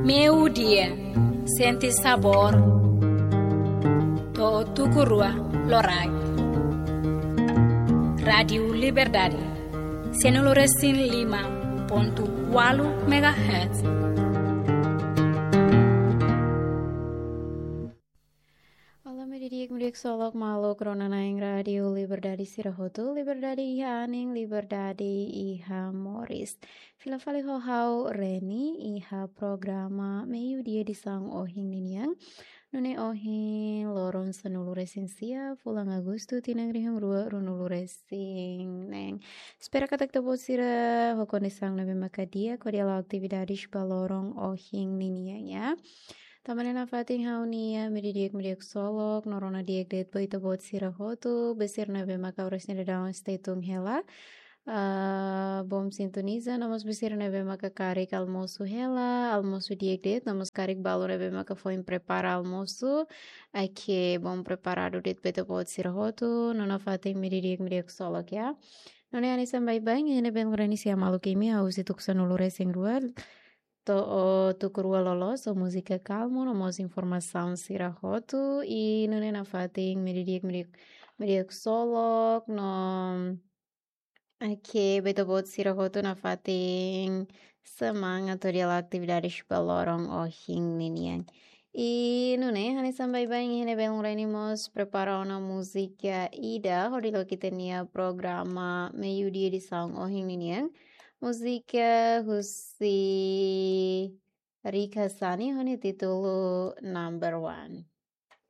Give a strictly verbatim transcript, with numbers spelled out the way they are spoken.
Meiudia, sente sabór. To'o tuku rua loraik. Rádiu Liberdade, sanulu-resin-lima pontu ualu megahertz. Olá, meiudia di'ak, meiudia ksolok, maluk rona-na'in Rádiu Liberdade sira hotu, liberdade iha anin, liberdade iha moris. Fila fali ho ha'u Reni, iha programa Meiudia edisaun ohin ninian. Nune'e ohin loron sanulu-resin-sia, fulan Agostu, tinan rihun rua ruanulu-resin-neen. Espera katak ita-boot sira ho kondisaun ne'ebé maka di'ak, hodi hala'o atividades ba loron ohin ninian, ya. Tanba ne'e nafatin ha'u-nia meiudia di'ak, meiudia ksolok, no rona di'ak de'it ba ita-boot sira hotu, ba sira ne'ebé maka oras ne'e daudaun stay tune hela. Ah, bom sintoniza, no mós ba sira ne'ebé maka karik almosu hela, almosu di'ak de'it, no mós karik balu ne'ebé maka foin prepara almosu, oke, bom preparadu de'it ba ita-boot sira hotu, no nafatin meiudia di'ak, meiudia ksolok, ya. Nune'e hanesan baibain, iha ne'ebé Reni sei hamaluk imi, ha'u husi tuku sanulu-resin-rua to'o tuku rua loloos, ho múzika kalmu, no mós informasaun sira hotu, i nune'e nafatin meiudia di'ak, meiudia di'ak, meiudia ksolok, no oke, ba ita-boot sira hotu nafatin semangat hodi hala'o atividades ba loron ohin ninian. I nune'e hanesan baibain, iha ne'ebé Reni mós prepara ona múzika ida hodi loke ita-nia programa Meiudia edisaun ohin ninian. Múzika husi Rika Sani ho nia títulu Number One.